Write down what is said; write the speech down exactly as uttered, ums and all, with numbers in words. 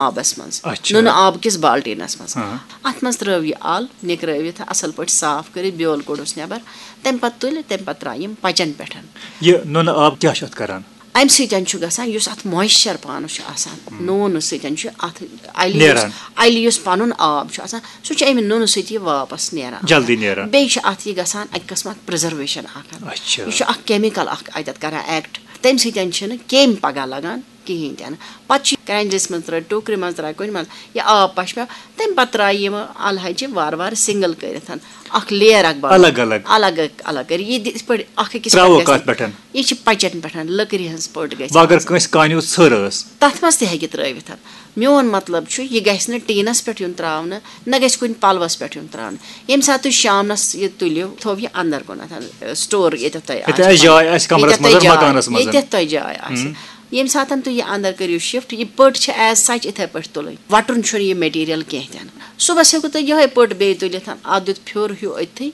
آبس منٛز، اچھا۔ نُنہٕ آب کِس بالٹیٖنس منٛز۔ ہاں۔ اتھ منٛز ترٲو یہِ ال، نِکرٲوِتھ اصل پٲٹھۍ صاف کٔرِتھ، بیول کوٚڑُس نٮ۪بر، تمہِ پتہٕ تُلہِ، تمہِ پتہٕ ترٛایہِ یِم پچن پٮ۪ٹھ۔ یہِ نُنہٕ آب کیٛاہ چھُ اتھ کران؟ امہِ سۭتۍ چھُ گژھان، یُس اتھ مویسچر پانس چھُ آسان، نوٗنہٕ سۭتۍ چھُ اتھ الہِ یُس، نیران۔ الہِ یُس پنُن آب چھُ آسان، سُہ چھُ امہِ نُنہٕ سۭتۍ یہِ واپس نیران۔ جلدی نیران۔ بیٚیہِ چھُ اتھ یہِ گژھان اکہِ قٕسمہٕ اکھ پرزرویشن اکھ۔ اچھا۔ یہِ چھُ اکھ کیمیکل اکھ اتٮ۪تھ کران ایکٹ، تمہِ سۭتۍ چھُنہٕ کیٚمۍ پگاہ لگان کِہینۍ تہِ نہٕ۔ پتہٕ چھُ کرٛنجلِس منٛز ترٛٲوِتھ، ٹوٗکرِ منٛز ترٛایہِ، کُنہِ منٛز، یہِ آب پشپہ، تمہِ پتہٕ ترٛایہِ یِم الہٕ ہَچہِ وارٕ وارٕ سنگل کٔرِتھ، اکھ لیر اکھ بناوان۔ الگ الگ۔ الگ الگ کٔرِتھ، یہِ یِتھ پٲٹھۍ اکھ أکِس ترٛاوو پٮ۪ٹھ گژھِ کتھ پٮ۪ٹھ؟ یہِ چھِ پچن پٮ۪ٹھ، لٔکرِ ہٕنٛز پٔٹ گژھِ وۄنۍ اگر آسٕنۍ۔ کٲنٛسہِ کانہِ ہُنٛد ژھٔر ٲس؟ تتھ منٛز تہِ ہیٚکہِ ترٲوِتھ۔ میون مطلب چھُ، یہِ گژھِ نہٕ ٹیٖنس پٮ۪ٹھ یُن ترٛاونہٕ، نہ گژھِ کُنہِ پلوس پٮ۪ٹھ یُن ترٛاونہٕ۔ ییٚمہِ ساتہٕ تُہۍ شامنس یہِ تُلِو، تھٲوِو یہِ اندر کُنتھ، سٹور ییٚتٮ۪تھ تۄہہِ ییٚتہِ آسہِ آسہِ جاے، پنُن۔ آسہِ کمرس ییٚتٮ۪تھ منٛز، تۄہہِ جاے، مکانس منٛز۔ ییٚتٮ۪تھ تۄہہِ جاے آسہِ۔ ییٚمہِ ساتہٕ تُہۍ یہِ اندر کٔرِو شفٹ، یہِ پٔٹ چھِ as such یِتھے پٲٹھۍ تُلٕنۍ، وٹُن چھُنہٕ یہِ مٹیریل کینٛہہ تہِ نہٕ۔ صُبحس ہیٚکِو تُہۍ یِہوٚے پٔٹ بیٚیہِ تُلِتھ، اتھ دیُت پھیُر ہیوٗ أتھی،